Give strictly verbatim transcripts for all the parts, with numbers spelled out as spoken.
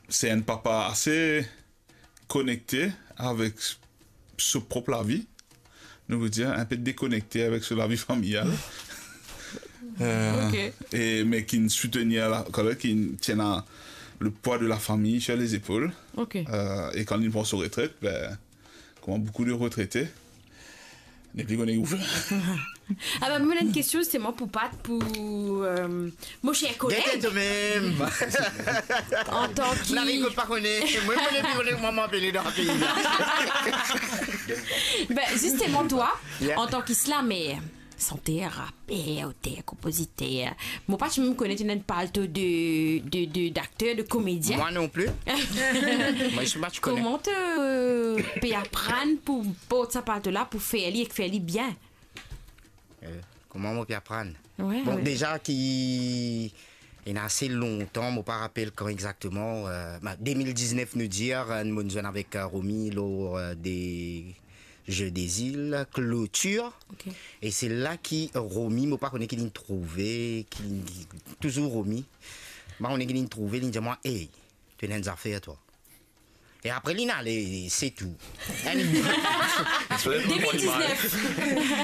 Se enn papa ase konekte avek so prop lavi, nou pou dir, inpe dekonekte avek so lavi familial. Euh, Ok. E, me ki soutenir la, kan ki tien le pwa de la fami sir lezepol. Ok. Euh, e kan li pran so retret, ben, kouma boukou de retrete, nepli kone ki pou fer. Ah ben, mwa, enn kestion zisteman pou Pat, pou euh, mon cher koleg. Gete to mem. Antan ki... Larikot pa kone. Mwa, mo nepli kone kouma mo apele dan pei la. Ben, zisteman, twa, Yeah. antan ki slamer, santer, raper, oter, konpoziter, mo pa ti mem kone to ena enn palto de, de, de, dakter, de komedien. Moi non plus. Moi, je suis pas, tu connais. Kouma to euh, pe aprann pou port sa palto la, pou fer li ek fer li bien? Euh, kouma mo pe aprann? Ouais, Bon, ouais. deza ki ena ase lontan, mo pa rapel kan exakteman, euh, ben, de mil diznef nou dir, euh, mo zwenn avek euh, Romy lor euh, de Jeux des Îles, Clôture. Ok. E se la ki Romy, mo pa kone ki linn trouve, ki, ki touzour Romy. Mo pa kone ki linn trouve, linn dir mwa, "Hey, to ena enn zafer twa." E apre linn ale, se tou. Enn, De mil diznef.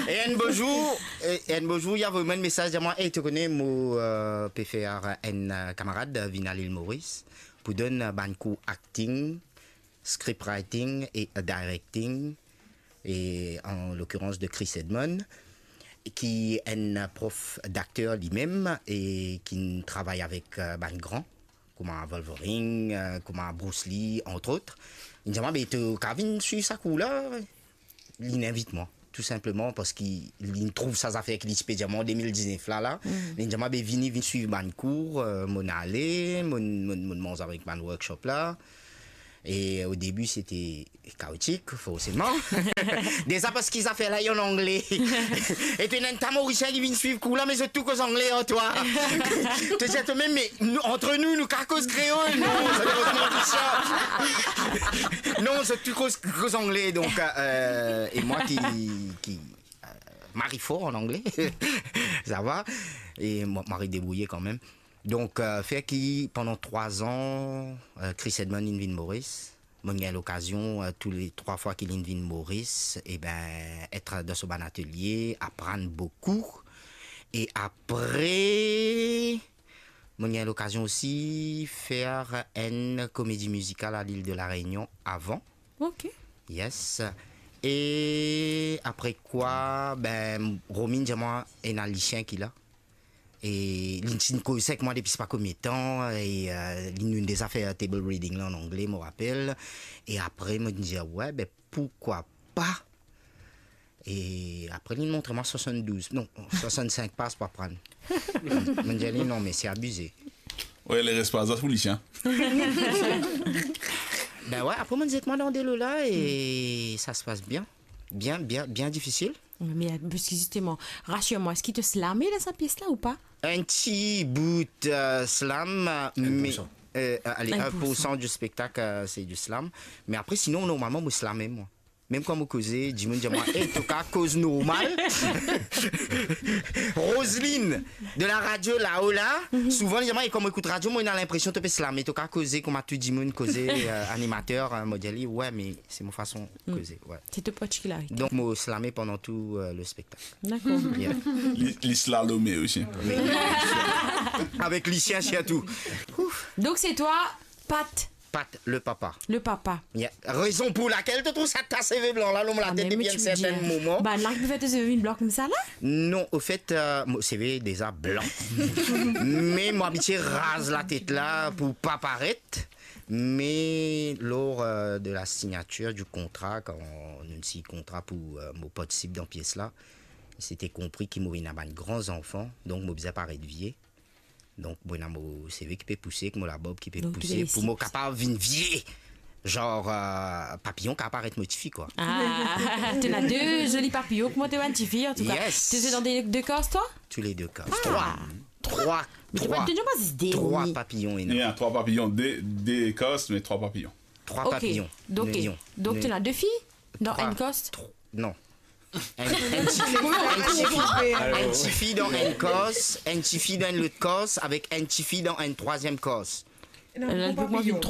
e enn bo zour, e enn bo zour, li avoy mwa enn mesaz, dir mwa, "Hey, to kone, mo euh, pe fer enn euh, kamarad euh, vinn al Ile Moris pou donn euh, bann kour acting, script writing e directing, e en l'occurrence de Chris Edmond, ki enn prof dakter limem e ki travay avek euh, bann gran, kouma Wolverine, euh, kouma Bruce Lee, entre autres. Li dir mwa, "Be, to kav vinn swiv sa kour la?" Linn invit mwa, tou sinpleman parski linn trouv sa zafer ki li ti pe dir mwa an de mil diznef la, la. Linn dir mwa, "Be, vini, vinn swiv bann kour." Euh, mo ale, mo, mo, mo manz avek bann workshop la. E o debi, sete kaotik, forseman. Deza parski zafer la, li an angle. E to ena enn ta Morisien ki vinn swiv kour la, me zot tou koz angle, an twa. To dir to mem, "Me nou, entre nous, nou kav koz kreol, non, sa deranz mwa tousa." Non, zot tou koz, koz angle, donk, euh, e mwa ki, ki euh, mari for an angle, sa va, e mo, mo ariv debrouye kanmem. Donk, euh, fer ki pandan trwa an, euh, Chris Edmond inn vinn Moris. Mo gagn lokazion, euh, tou le trwa fwa ki linn vinn Moris, e ben, et dan so bann atelie, aprann boukou. E apre, mo gagn lokazion osi fer enn komedi mizikal a Lil de la Reynion avan. Ok. Yes. E apre kwa, ben, Romy dir mwa, ena Lisien ki la. E li ti koz ek mwa depi sipa konbien tan, e euh, li, nou deza fer table reading la an angle, mo rapel. E apre, mo dir, "We, ben, poukwa pa?" E apre, li montre mwa swasanndouz, non, swasannsink pas pou aprann. Mo dir li, "Non, me se abize." We, le res pa zot pou Lisien. Ben we, apre, mo dir, "Met mwa dan delo la e sa se pas bien." Bien, bien, bien difisil. Me, euh, parski zisteman, rasir mwa, eski to slame dan sa pies la ou pa? Enn ti bout euh, slam, euh, me, poursan. Euh, ale, Enn enn poursan. Enn poursan di spektak, euh, se di slam. Me apre, sinon, normalman, mo slame, mwa. Mem kan mo koze, dimoun dir mwa, "Ey, to kav koz normal." Roseline, de la radio lao la, souvan, li dir mwa, "E kan mo ekout radio, mo ena linpresion to pe slame, to kav koze kouma tou dimoun koze, euh, animater, euh," mo dir li, "We, me se mo fason koze, we." Se to partikilarite. Donk, mo slame pandan tou euh, le spektak. Dakor. Yeah. Li, li slalome osi. Avek Lisien sirtou. Donk, se twa, Pat, Pat, le papa. le papa. Yeah. Rezon pou lakel to trouv sa ta seve blan la lor mo latet depi enn sertenn moman. Bann la ki pou fer to seve vinn blan koumsa la? Non, ofet, euh, mo seve deza blan. Me mo abitie raz latet la pou pa paret. Me lor euh, de la signature du contrat, kan nou sign kontra pou euh, mo partisip dan pies la, se te konpri ki mo ena bann gran zanfan, donk mo bizin paret vie. Donk, mo ena mo seve ki pe pouse, ek mo labarb ki pe pouse, pou mo kapav vinn vie. Zar, euh, papiyon kav paret mo tifi, kwa. Ah, to ena de zoli papiyon, kouma to ena enn tifi, antouka. Yes. To swe dan de, de kas, twa? Tou le de kas. Trwa. Trwa. Me to pa, to pa zis de. Trwa papiyon, ena. Ena trwa papiyon, de, de kas, me trwa papiyon. Trwa papiyon. Donk, Papiyon. donk to ena de fi dan enn kas? Tr-, non. Enn, enn tifi, enn tifi, enn tifi dan enn kas, enn tifi dan enn lot kas, avek enn tifi dan enn trwaziem kas. Ena enn gro papiyon.